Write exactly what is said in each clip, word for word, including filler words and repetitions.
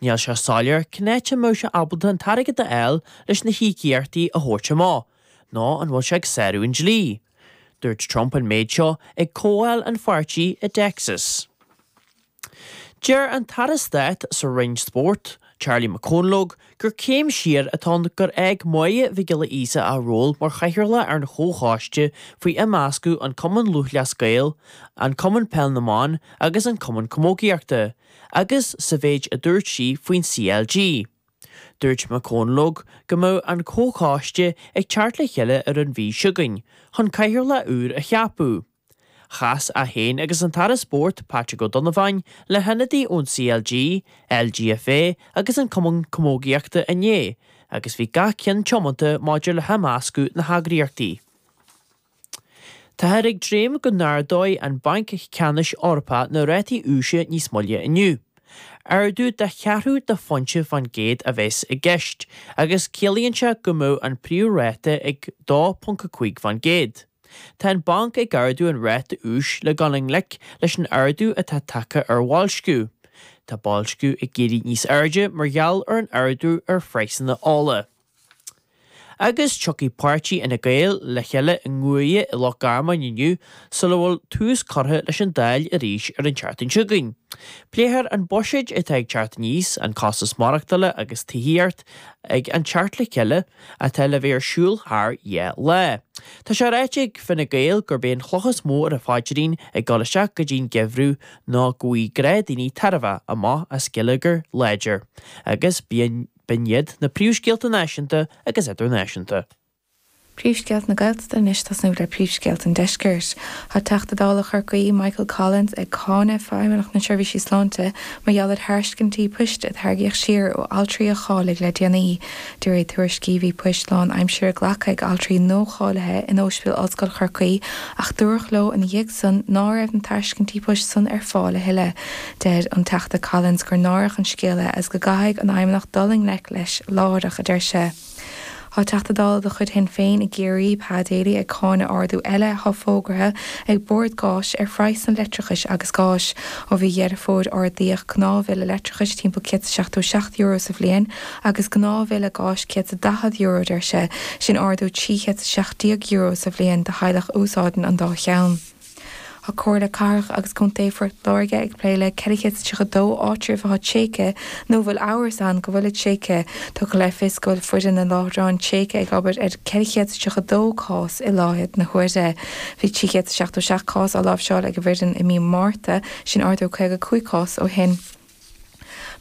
Níl sé soiléir cén áit a mbeadh sé ábalta an t-airgead a fháil leis na híocaíochtaí a thabhairt amach, nó an bhfuil sé ag sárú an dlí. Dúirt Trump an méid seo ag comhdháil an pháirtí i dTexas. Deir an tAire Stáit sa Roinn Spóirt, Charlie McConalogue, gur céim siar atá ann gur fhág Máire Mhic Giolla Íosa a ról mar chathaoirleach ar an chomhchoiste faoi imeascadh an Cumann Lúthchleas Gael, an Cumann Peil na mBan agus an Cumann Camógaíochta, agus sa mhéid a dúirt sí faoin CLG. Dúirt McConalogue go mbeadh an comhchoiste ag teacht le chéile ar an mhí seo chugainn, chun cathaoirleach úr a cheapadh. Chas é féin agus an tAire Spóirt Patrick Ó Donnabháin le hionadaithe ón CLG, LGFA agus an Cumann Camógaíochta inné, agus bhí gach ceann tiomanta maidir le himeascadh na heagraíochtaí. Táthar ag dréim go n-ardóidh an Banc Ceannais Eorpach na rátaí úis níos moille inniu. Ardú de cheathrú de phointe faoin gcéad a bheas i gceist, agus ciallaíonn sé go mbeadh an príomhráta ag dó ponc a cúig faoin gcéad. Tá an banc ag ardú an ráta úis le dul i ngleic leis an ardú atá tagtha ar bhoilsciú. Tá boilsciú ag éirí níos airde mar gheall ar an ardú ar phraghsanna ola. Agus tiocfaidh páirtí Fhine Gael le chéile i nGuaire i Loch Garman inniu sula bhfuil tús curtha leis an Dáil arís ar an tseachtain seo chugainn. Pléifear an buiséad atá ag teacht aníos, an costas maireachtála agus tithíocht ag an teacht le chéile atá le bheith ar siúl thar dhá lá. Tá sé ráite ag Fine Gael gurb é an chloch is mó ar a phaidrín ag dul isteach go dtí'n geimhreadh ná go bhfaighidh gnáthdhaoine tairbhe amach as geilleagar láidir. Agus bíonn B'in iad na príomhscéalta náisiúnta agus idirnáisiúnta. Príomhscéalta na Gaeltachta anois tosnú le príomhscéalta an Deiscirt. Tá Teachta Dála Chorcaí Michael Collins ag cáineadh Feidhmeannacht na Seirbhísí Sláinte mar gheall ar thairiscintí poist a tarraingíodh siar ó altraí a cháiligh le déanaí. De réir tuairiscí bhí poist lánaimseartha glactha ag altraí nuacháilithe in Ospidéal Ollscoil Chorcaí ach dúradh leo ina dhiaidh san ná raibh na tairiscintí poist san ar fáil a thuilleadh. Deir an Teachta Collins gur náireach an scéal é agus go gcaithfidh an Fheidhmeannacht dul i ngleic leis láithreach, a deir sé. Tá Teachta Dála de chuid Shinn Féin i gCiarraí, Pa Daly, ag cáineadh ardú eile atá fógartha ag Bord Gáis ar phraghsanna leictreachais agus gáis. Ó mhí Dheireadh Fómhair ardaíodh gnáthbhille leictreachais timpeall céad is seachtó seacht euro sa bhliain agus gnáthbhille gáis céad is daichead euro, deir sé. Sin ardú trí chéad is seacht déag euro sa bhliain do theaghlach a úsáideann an dá cheann. Tá Comhairle Cathrach agus Contae Phort Láirge ag plé le ceithre chéad is tríocha dó áitreabh atá tréigthe nó a bhfuil amhras ann go bhfuilid tréigthe. Tugtha le fios go bhfuil foireann na láithreán tréigthe ag obair ar ceithre chéad is tríocha dó cás i láthair na huaire. Bhí trí chéad is seachtó seacht cás á láimhseáil ag an bhfoireann i mí Márta, sin ardú caoga cúig cás ó shin.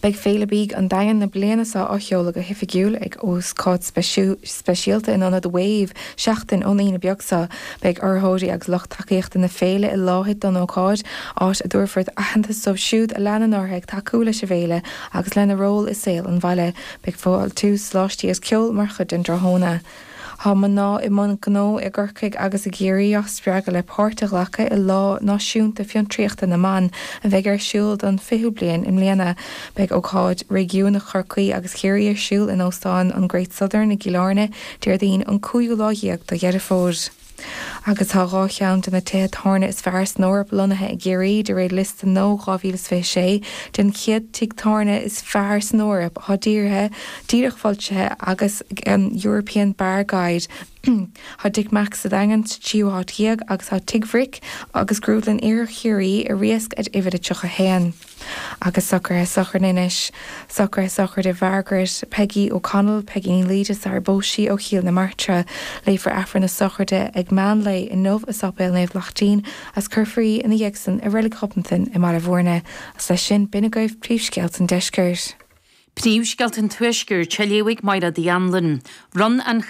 Beidh Féile Bídh an Daingin na bliana seo á sheoladh go hoifigiúil ag ócáid speisialta in Ionad Wave seachtain ón Aoine beag seo. Beidh urraitheoirí agus lucht tacaíochta na féile i láthair don ócáid, áit a dtabharfar aitheantas dóibh siúd a leanann orthu ag tacú leis an bhféile agus lena ról i saol an bhaile. Beidh fáiltiú, soláistí agus ceol mar chuid den dtráthnóna. Tá mná i mbun gnó i gCorcaigh agus i gCiarraí á spreagadh le páirt a ghlacadh i Lá Náisiúnta Fiontraíochta na mBan a bheidh ar siúl don fichiú bliain i mbliana. Beidh ócáid réigiúnach Chorcaí agus Chiarraí ar siúl in Óstán an Great Southern i gCill Airne Déardaoin an cúigiú lá dhéag de Dheireadh Fómhair. Agus tá dhá cheann de na tithe tábhairne is fearr san Eoraip lonnaithe i gCiarraí, de réir liosta nua dhá mhíle is fiche sé den chéad tigh tábhairne is fearr san Eoraip atá dírithe, díreach foilsithe agus an European Bar Guide. Tá Dick Mack's sa Daingean sa tríú háit dhéag agus tá Tigh Bhric agus Grúdlann Iarthar Chiarraí i Riasc ar uimhir a tríocha haon. Agus socruithe sochraide anois. Socruithe sochraide Mhargaret Peggy O'Connell, Peggy Ní Laoide sar phós sí ó Chill na Martra. Léifear Aifreann na sochraide ag meán lae inniu i Sáipéal Naomh Lachtaín agus cuirfear í ina dhiaidh san i Reilig Ghobnatan i mBaile Bhúirne. Agus leis sin, b'in agaibh príomhscéalta an deiscirt. Príomhscéalta an Tuaiscirt, á léamh ag Máire Uí Anluain. Bhronn an